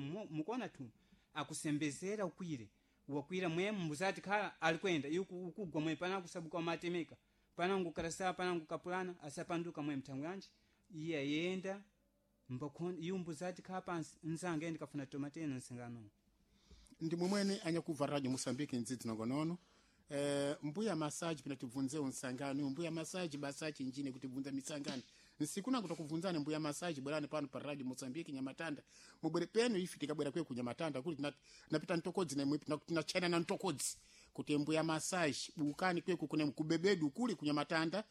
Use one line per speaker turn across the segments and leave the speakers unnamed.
Mukona tu akusembezera ukwire wakwira mwe mbuzati khala alikwenda iku ukugwa mwe pana kusabuka matemeka pana ngukarasa pana ngukapulana asapanduka mwe mthango yanji iye ayenda mbakhon iyu mbuzati khala pansi nzange ndikafuna tomatena nsingano.
Ndi mwemwene anyakuva radio Mosambiki ndzidzi nongonono. Mbuya masaji pina tibvunze unsangano mbuya masaji basachi njine kuti bvunza misangano nsiku nangu takubvunzani mbuya masaji bwerani pano pa radio Mosambiki Nyamatanda mubwere penu ifi tikabwera kwe ku Nyamatanda kuli tinapita ntokodzi na imwe tinachana na ntokodzi kuti mbuya masaji bukani kweku kune kubebedu kuli ku Nyamatanda,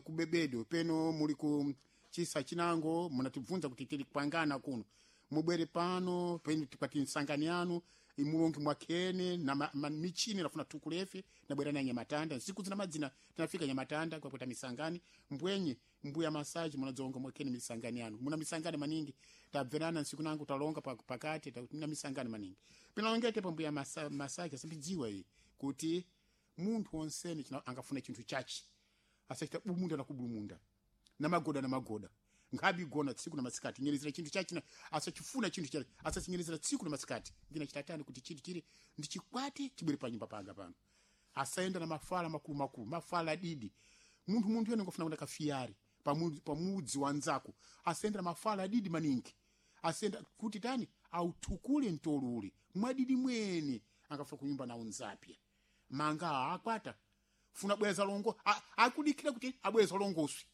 kubebedu peno muli ku chisa chinango munatibvunza kuti tili kupangana kuno mubwere pano penu tikwati nsangani yanu imulongi mwakhene na michini nafuna tukulefe nabwera na Nyamatanda nsiku zina madzina tinafika Nyamatanda kwakweta misangani mbwenye mbuya masaji munadzonga mwakhene misangani yanu muna misangani maningi tabverana nsiku nangu talonga pakati na misangani maningi pinalongete pa mbuya masaji asambidziwa iyi kuti munthu wonsene angafuna chinthu chachi asachita bumunda na kubumunda na magoda na magoda nkhabi gona tsiku na masikati nyerezera chinthu chachina asachifuna chinthu chake asachinyerezera tsiku na masikati ndina chitatani kuti chinthu chili ndichikwati chibwere pa nyumba panga pano asaenda na mafala makulu makulu mafala didi munthu yene ngofuna kwenda kafiyari pamudzi wanzako asaenda na mafala didi maningi asenda kuti tani autukule ntolule mwadidi mwene angafuna kunyumba na unzapya manga akwata funa bweza longo akudikira kuti abweza longoswi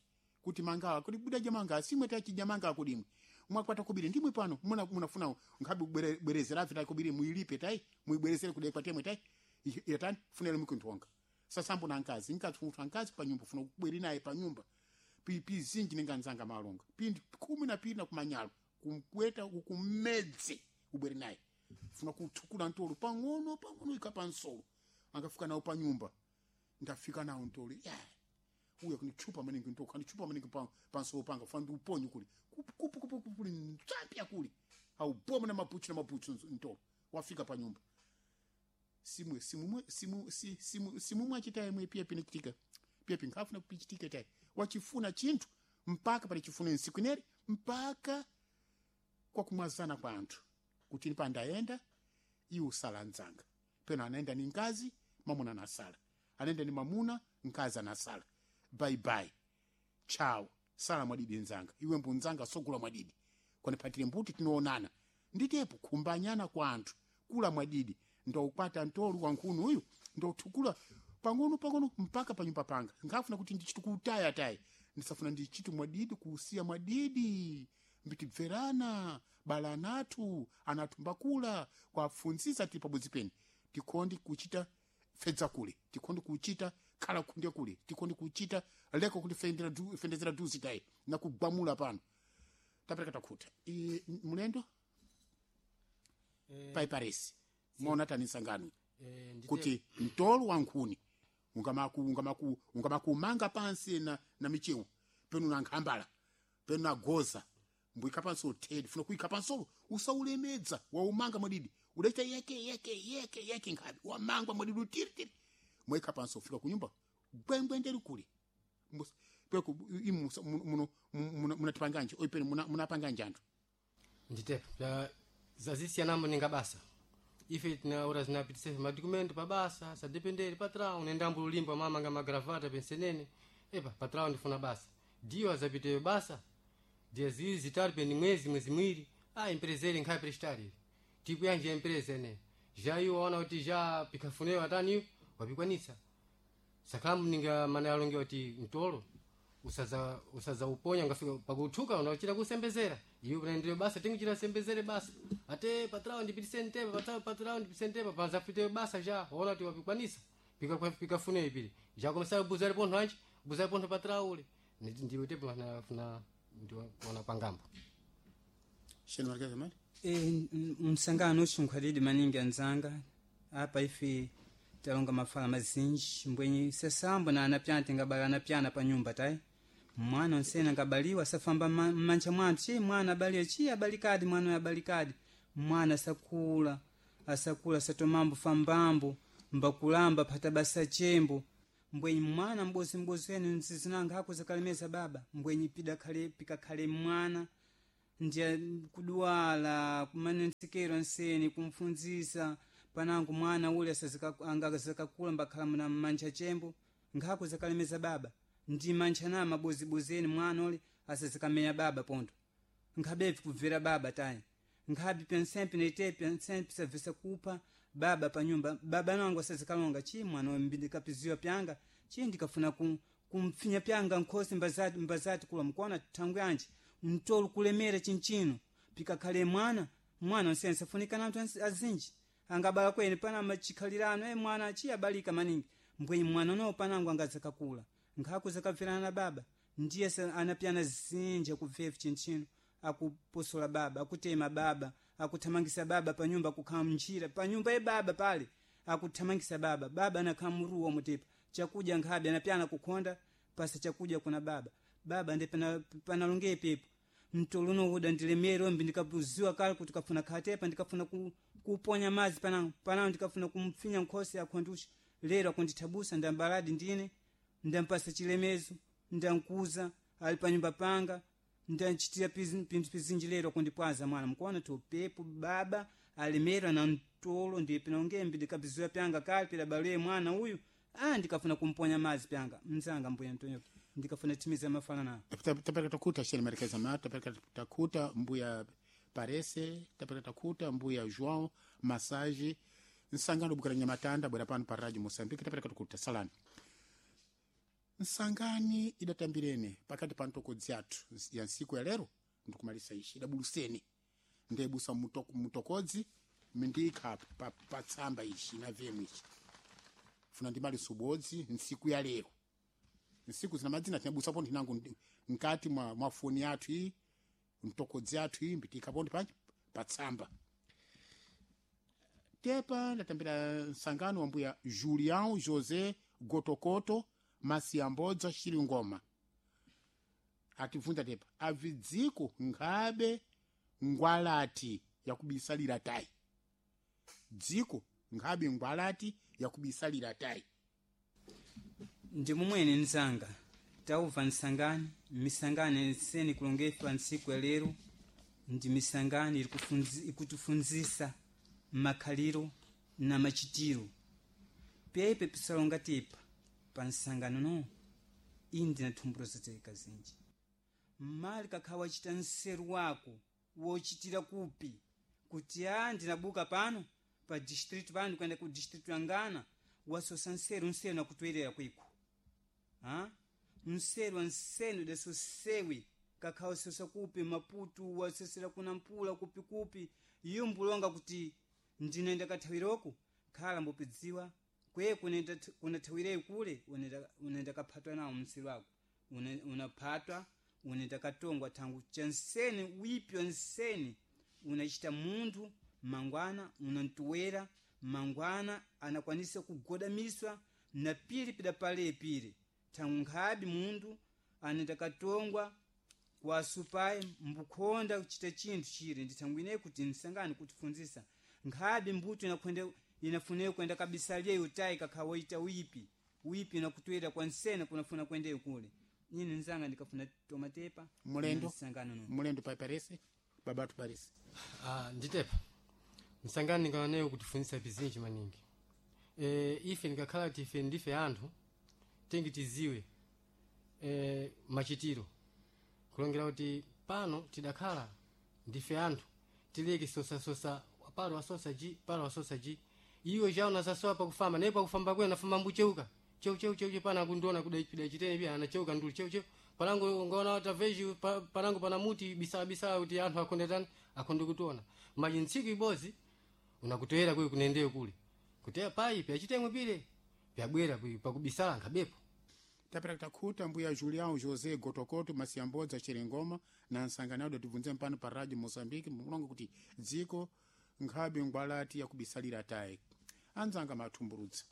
kuti manga kuti budaja manga simwe tachija manga akudimwe mwakwata kubiri ndimwe pano munafuna nkhabi bwerezera vita kubiri muilipe tai muibwerezere kudai kwatemwe tai yatani funele mukuntonga sasambo na nkazi nkazi funa nkazi pa nyumba funa kubweri naye pa nyumba pi zinji ninga nzanga malonga pindi 12 na kumanyalo kumkweta ukumedze ubweri naye funa kutukula ntolo pang'ono pang'ono ikapa nsolo angafika nawo pa nyumba ndafika nawo ntolo yeah. Uya kunichupa maningi ntoko kanichupa maningi pansolo panga fana ndiuponye kuli kupu kupu kupu kuli ntsapya kuli auboma na mapuchu na mapuchu ntolo wafika pa nyumba simwe simumwe simu si, simu simumwe achitaye mwe pia pinachitika pia pinkafuna kupichitika tayi wachifuna chinthu mpaka pali chifuna nsiku ineri mpaka kwa kumwazana kwa anthu kuti ni pandaenda iwo sala nzanga peno anaenda ni nkazi mamuna anasala anaenda ni mamuna nkazi anasala bye bye chao sala mwadidi nzanga iwe mbunzanga sogula mwadidi kwanipatire mbuti tinoonana nditepo kumbanyana kwa anthu kula mwadidi ndoukwata ntolu wankhunu uyu ndotukula pang'ono pang'ono mpaka panyumba panga ngafuna kuti ndichitukutaya tayi ndisafuna ndichitu mwadidi kuusiya mwadidi mbitibverana bala anathu anathu mbakula kwafunzisa tili pabodzi peni tikondi kuchita fedza kule tikondi kuchita khala kunde kule tikondi kuchita leko kuti fendezera duzi tayi na kugwamula pano tapereka takhuta mulendo paiparesi mona tani nsangano kuti mtolo wa nkhuni ungamakumanga pansi na michewu penu na nkhambala penu na goza mbuyika pansi uthedi funa kuyika pansolo usaulemedza waumanga mwadidi udaita yeke yeke yeke yeke nkhabi wamangwa mwadidi utiritiri mwayika pansi ufika kunyumba gwengwenderi kule peku imu munatipanganje oipeni munapanganje anthu
nditepo zazisiyanamo ninga basa ife tinaura zinapitisa madokumento pa basa sadependere patrão nendambo lulimba mama nga magravata pensenene epa patrão ndifuna basa dio azapiteyo basa dia ziwiri zitatu peni mwezi mwezi mwiri ah empresa ili nkhaya prestar ili tipo yanje empresa ene já iwo waona kuti já pikafuneyo ataniyo wapikwanisa sakhamu ninga mana alonge kuti mtolo usaza uponya ngafika pakuthuka unachita kusembezera iwe unaendelea basa tinguchita sembezere basa ate patrao ndipitise ntepa patrao patrao ndipitise ntepa panzafite basa já waona kuti wapikwanisa pikafuneyo pili já começar buzare pontho anji buzare pontho patrao ule ndiwo tepo funa ndiwo pangambo
sheni marikeza mali
msangano uxunkhwalidi maningi anzanga apa ife talonga mafala mazinji mbwenye sasambo na anapyana tingabala anapyana pa nyumba tayi mwana onsene angabaliwa asafamba mmanja mwanthu chi mwana abaliwe chi abalikadi mwana uyu abalikadi mwana asakula asakula asatomambo fambambo mbakulamba phata basa chembo mbwenye mwana mbozi wenu nzizinanga hakuza kalemeza baba mbwenye pikakhale mwana Ndiye kuduwala kumanensekero nseni kumfunzisa panangu mwana ule angazakakula mbakhala mna mantcha chembo nkhako zakalemeza baba ndi mantcha na mabozibozeni mwana ule asazikamenya baba pondo nkhabevi kubvera baba tayi nkhabi pensempe nete pensempe sabvesa kupha baba panyumba baba nangu asazikalonga chi mwana mbindikapiziwa pyanga chi ndikafuna kumpfinya pyanga nkhosi mbazati, mbazati kula mkuona thangu yanji mtolo kulemera chinchino pikakhale mwana mwana onse afunika na anthu azinji angabala kwene pana machikhalirano e mwana chi abalika maningi mbwenyi mwana no panangu angazakakula nkhako zakabverana na baba ndiye anapyana zinji akubvevu chinchino akuposola baba akutema baba akuthamangisa baba panyumba akukhala mnjira panyumba ye baba pale akuthamangisa baba baba anakhala muruwa mutepa chakudya nkhabe anapyana kukhonda pasa chakudya kuna baba baba ndi panalongeye pepo mtolo unowoda ndilemere ombi ndikapuziwa kale kuti kafuna khatepa ndikafuna kuponya madzi panango panango ndikafuna kumpfinya nkhosi akhondusha lero akundithabusa ndambaladi ndine ndampasa chilemezo ndankuza ali panyumba panga ndanchitira pinthu pizinji lero akundipwaza mwana mkuona topepo baba alemera na mtolo ndiye pinongembe ndikapiziwa pyanga kale pidabalwe mwana uyu ah ndikafuna kumponya madzi pyanga mzanga mbuya Antonio ndikafuna timiza mafana nawo
Tapereka takuta sheni marekeza mato tapereka takuta mbuya Parese tapereka takuta mbuya João Massage nsangano bukira nyamatanda bwera pano pa Radio Mozambique tapereka takuta salani nsangani idatambirene pakati pa ntokodzi athu ya nsiku ya lero ndikumalisa ishi idabuluseni ndebusa mutokodzi mindikha pa, pa tsamba ishi na vemu ishi funa ndimaliso ubodzi nsiku ya lero nsiku zina madzina tinabusapo ndinango nkati mwa foni yathu iyi mtokodzi athu iyi mbitikapo ndi patsamba tepa ndatambira nsangano wa mbuya Julião José Gotokoto Masiambodza Xilingoma atibvunza tepa avidziko nkhabe ngwalati yakubisalira tayi dziko nkhabe ngwalati yakubisalira tayi
ndi mumwene mzanga tauva nsangani misangani nseni kulongefa ntsiku ya lero ndi misangani ikutifunzisa makhaliro na machitiro pepe pisalonga tepa pa nsangano no iyi ndina thumburo zateka zinji mmali kakhala wachita nseru wako wochitira kupi kuti a ndinabuka pano pa distritu pano kuenda ku distritu ya ngana wasosa nseru nseru nakutwerera kwiko ha nseru ansenu dasosewi kakhala wasosa kupi maputu wasosera kuna mpula kupikupi iyo mbulonga kuti ndinenda kathawiroko khala mbopidziwa kwe kunathawireyo kule unenda kaphatwa nawo mseru wako unaphatwa unenda katongwa thangu chanseni wipi wanseni unachita munthu mangwana unantuwera mangwana anakwanisa kugodamiswa na pili pidapale pili thangu nkhabi munthu anenda katongwa kwasupayi mbukhonda kuchita chinthu chili ndi thangu ineyi kuti nsangani kutifunzisa nkhabi mbuto inafuneyo kwenda kabisalyeyo utayi kakha woita wipi wipi inakutwera kwa nsena kunafuna kwendeyo kule ine nzanga ndikafuna tomatepa
mulendo
nsangano no
mulendo pa parese babatu parese
Ah, nditepa msangani ndingananeyo kutifunzisa pizinji maningi ife ndikakhala kuti ife ndife anthu tingi tiziwe machitiro kulongera kuti pano tidakhala ndife anthu tileke sosasosa palo wasosa ji palo wasosa ji iwe chawo nasasowa pakufamba naye pakufamba kwena nafamba mbucheuka cheu cheu cheu pana akundiona kuda chitene pia anacheuka nduli cheu cheu panango ngaona taveji panango pana muti bisala bisala kuti anthu akonde tani akonde kutiona maji ntsiku ibozi unakutoera kuyi kunendeyo kule kuteya payi pyachitengwe pile pyabwera kuyi pakubisala nkhabepo
tapera takhuta mbuya Julião José Gotokoto Masiambodza Xilingoma na nsangano datibvunze mpano pa Radio Mozambique mulongo kuti dziko nkhabe ngwalati yakubisalira tayi anzanga mathumburutsa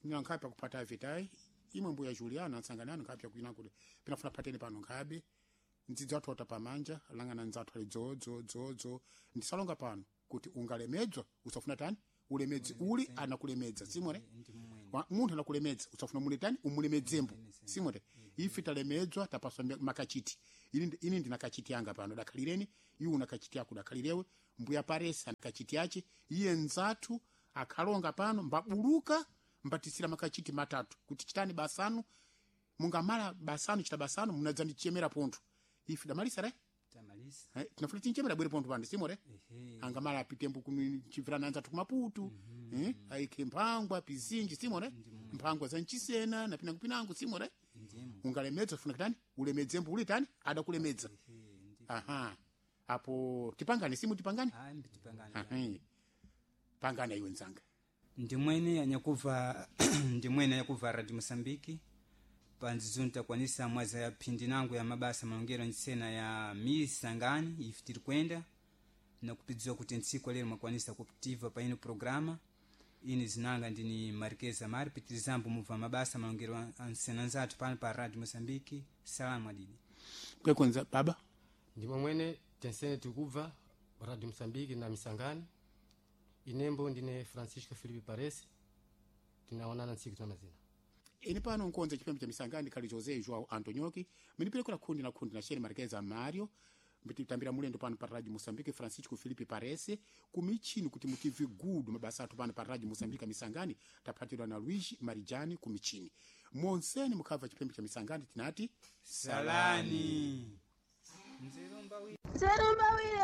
ina nkhabe akupata avi tayi imwe mbuya Juliana nsangano nkhabe akuina kuti pinafuna pateni pano nkhabe ndzidzi athu ota pamanja langana ndzathu ali dzo dzo dzo dzo ndisalonga pano kuti ungalemedzwa usafuna tani ulemedzi uli anakulemedza simwere
ndi mumwene
Munthu anakulemedza usafuna muletani umulemedzembo simwere Ife talemedzwa tapaswa makachiti. Ini ndina kachiti yanga pano dakhalireni, iwe una kachiti yako dakhalirewe, mbuya paresi ana kachiti yache, iye nzathu akhalonga pano mbabuluka mbatisira makachiti matatu kuti chitani basanu mungamala basanu chita basanu munadzandichemera pontho. Ife damalisa re?
Tamalisa.
Tinafuna tinchemera bwere pontho pano simore?
Ehe.
Angamala apitembo kuchibvirana anzathu kumaputu, aike mphangwa pizinji simore, mphangwa za nchisena na pinango pinango simore.
Ndimo.
Ungalemedza ufuna kitani ulemedze mbuli tani adakulemedza.
Ehe,
Aha, apo tipangane simu tipangane.
Ayi, tipangane.
Aha. Pangane iwe nzanga.
Ndimwene anyakuva ndimwene anyakuva Radio Mosambiki panzizuni takwanisa mwaza ya phindi nangu ya mabasa malongero ntsena ya misangani ife tiri kwenda nakupidziwa kuti ntsiku lero mwakwanisa kutiva pa ino programa ini zinanga ndini Marquez Amari pitirizambo mubva mabasa malongero ansena nzathu pano pa Radio Mosambiki. Salamu adidi.
Kwekonza baba.
Ndimo mwene tensene tikubva Radio Mosambiki na misangani. Inembo ndine Francisco Filipe Paresi, tinaonana ntsiku tuna mazina.
Ine pano nkonza chipembe cha misangani khali José João Antonioki miniperekera khundi na khundi na Sheri Marquez Mario mbititambira mulendo pano pa Radio Mosambiki Francisco Filipe Parese kumichini kuti mutive gudu mabasa athu pano pa Radio Mosambiki misangani taphatirwa na Luigi Marijani kumichini monseni mukhabva chipembe cha misangani tinati
Salani. Nzerumba
Nzerumbawire.